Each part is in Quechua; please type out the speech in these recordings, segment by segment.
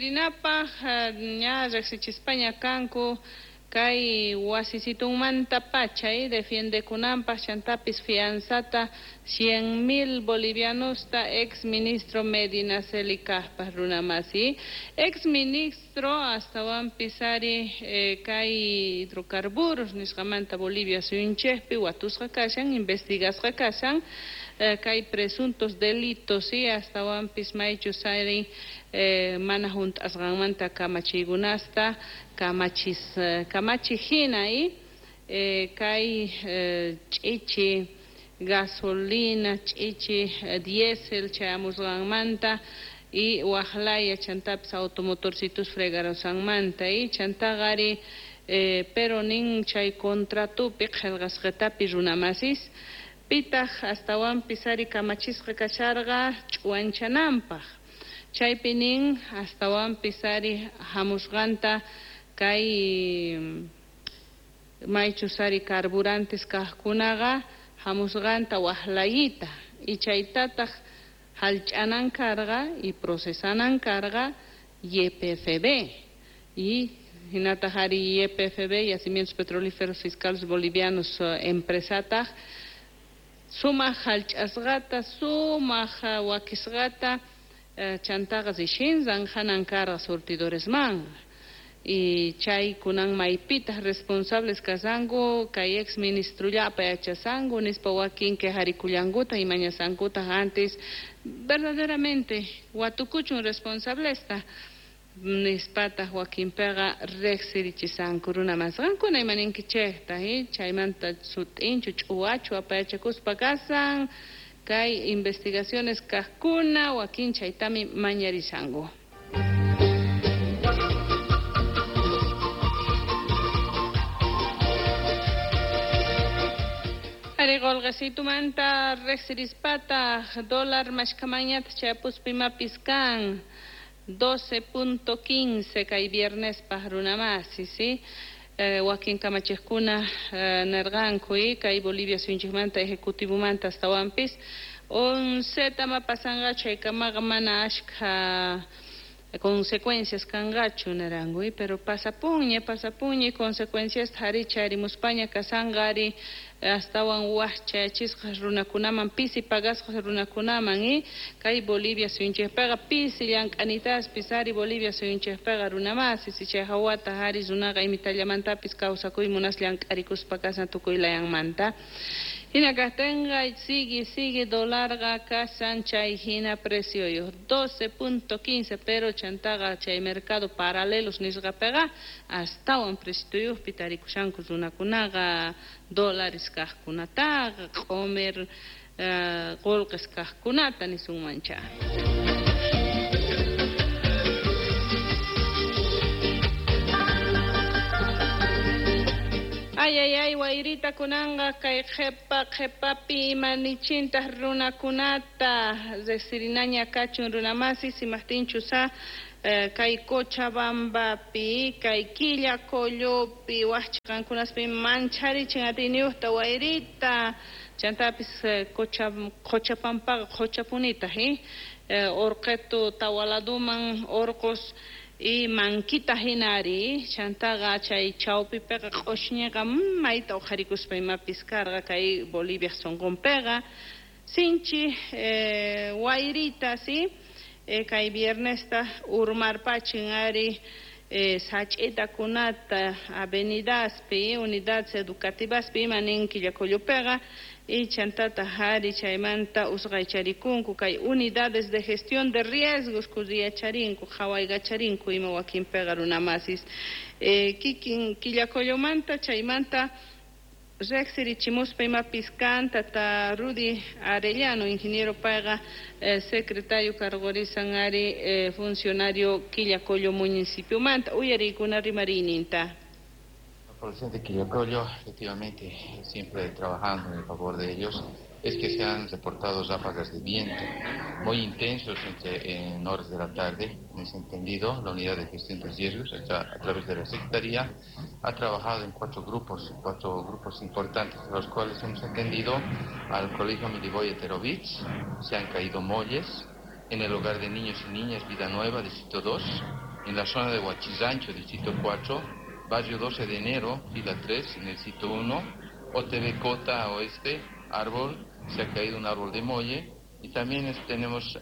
Rinapaq ña riqsichispaña kanku kay wasisitunmanta pacha defiendekunanpaq chantapis fianzata 100.000 bolivianosta ex ministro Medinaceli kaqpaq runamasi. Ex ministro astawanpis ari kay hidrocarburos nisqamanta Bolivia suyunchikpi watusqa kashan, investigasqa kashan kay presuntos delitos astawanpis maychus ari mana hunt'asqanmanta kamachiykunasta kamachi hina kay ch'ichi gasolina, ch'ichi diésel chayamusqanmanta y waqlaya chantapis automotorcitos fregarusqanmanta chantaqa ari pero nin chay contratupi qillqasqatapi runamasis pitaq astawanpis ari kamachisqa kasharqa ch'uwanchananpaq chaypi nin astawanpis ari hamusqanta kay maychus ari carburantes kaqkunaqa hamusqanta waqlayita y chaytataq hallch'anan karqa y procesanan karqa YPFB y hinataq ari YPFB, Yacimientos Petrolíferos Fiscales Bolivianos empresataq sumaq hallch'asqata sumaq wakisqata chantaqa rishinran hanan karqa surtidoresman y chay kunan maypitaq responsables kasanku kay ex ministrollapa yachasanku nispa wakin quejarikullankuta y mañasankuta antes verdaderamente watukuchun responsablesta nispataq wakinpiqa riqsirichisanku runamas qankuna imaninkichikta chaymanta sut'inchu ch'uwachu apayachakuspa kasan kay investigaciones kaqkuna wakin chaytami mañarisanku. Ari qolqesitumanta riqsirispataq dólar mashkamañataq chayapuspa imapis kan 12.15 kay viernespaq runamasi, ¿sí? Wakin kamachiqkuna nirqanku kay Bolivia suyunchikmanta ejecutivomanta astawanpis 11 ma pasanqa chaykamaqa mana ashkha consecuencias kanqachu niranku pero pasapunña pasapunña consecuencias ari chayarimuspaña kasanqa ari astawan waqchayachisqa runakunaman pisi pagasqa runakunaman kay Bolivia suyunchikpiqa pisi llank'anitaspis ari Bolivia suyunchikpiqa runamasi si chay hawata ari runaqa imitallamantapis kawsakuy munas llank'arikuspa kasan tukuy layanmanta. Hina kaqtinqa sigue sigue dólarqa kasan chay hina precioyuq 12.15 pero chantaqa chay mercado paralelos nisqapiqa astawan precioyuqpi tarikushanku runakunaqa dólares kaqkunataqa q'umir qullqis kaqkunata nisunmancha. Ay, ay, ay, wayrita kunanqa kay qhipa qhipapi imanichintaq runakunata riqsirinaña kachun runamasi simaqtinchusa kay Cochabambapi kay Quillacollopi waqchiqankunaspi mancharichin atiyniyuqta wayrita chantapis Qochapampaqa qochapunitaq urqitu tawaladuman urqus y mankita hinari chantaqa chay chawpipiqa q'ushñiqa mayta uqharikuspa imapis karqa kay Bolivia sunqunpiqa sinchi wayrita si kay viernesta urmarpachin ari sach'itakunata avenidaspi unidades educativaspi ima nin Quillacollopiqa y chantataq ari chaymanta usqaycharikunku kay unidades de gestión de riesgos kuriyacharinku qhawaykacharinku ima wakinpiqa runamasis kikin Quillacollomanta chaymanta riqsirichimuspa imapis kan tata Rudy Arellano ingeniero payqa secretario cargorisan ari funcionario Quillacollo municipiomanta uyariykuna rimariyninta. La población de Quillacollo, efectivamente, siempre trabajando en el favor de ellos, es que se han reportado ráfagas de viento muy intensos en horas de la tarde. En ese entendido, la unidad de gestión de riesgos, a través de la Secretaría, ha trabajado en cuatro grupos importantes, los cuales hemos atendido al Colegio Milivoje Eterovic, se han caído molles, en el hogar de niños y niñas Vida Nueva, Distrito 2, En la zona de Huachizancho, distrito 4, barrio 12 de enero, fila 3, en el sitio 1, OTB Cota Oeste, árbol, se ha caído un árbol de molle, y también hemos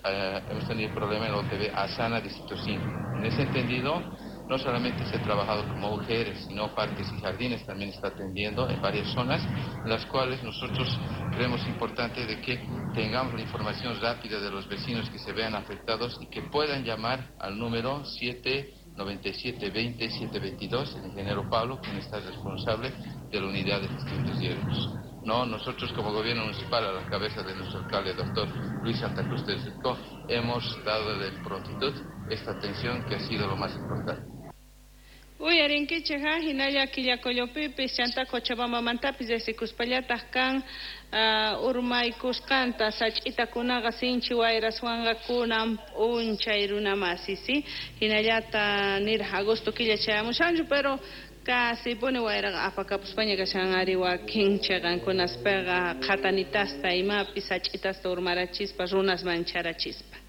tenido problema en el OTB Asana, distrito 5. En ese entendido, no solamente se ha trabajado como mujeres, sino parques y jardines también está atendiendo en varias zonas, en las cuales nosotros creemos importante de que tengamos la información rápida de los vecinos que se vean afectados y que puedan llamar al número 797 20 722, el ingeniero Pablo, quien está responsable de la unidad de gestión de riesgos. No, nosotros como gobierno municipal, a la cabeza de nuestro alcalde, doctor Luis Santa Cruz de Surco, hemos dado de prontitud esta atención que ha sido lo más importante. Uyarinkichik hinalla Quillacollopipis chanta Cochabambamantapis riqsikuspallataq kan urmaykusqanta sach'itakunaqa sinchi wayraswanqa kunan p'unchay runamasi, ¿sí? Hinallata niraq agosto killa chayamushanchu, pero casi puni wayraqa apakapuspaña kashan ari wakin chiqankunaspiqa qhatanitasta imapis sach'itasta urmarachispa runas mancharachispa.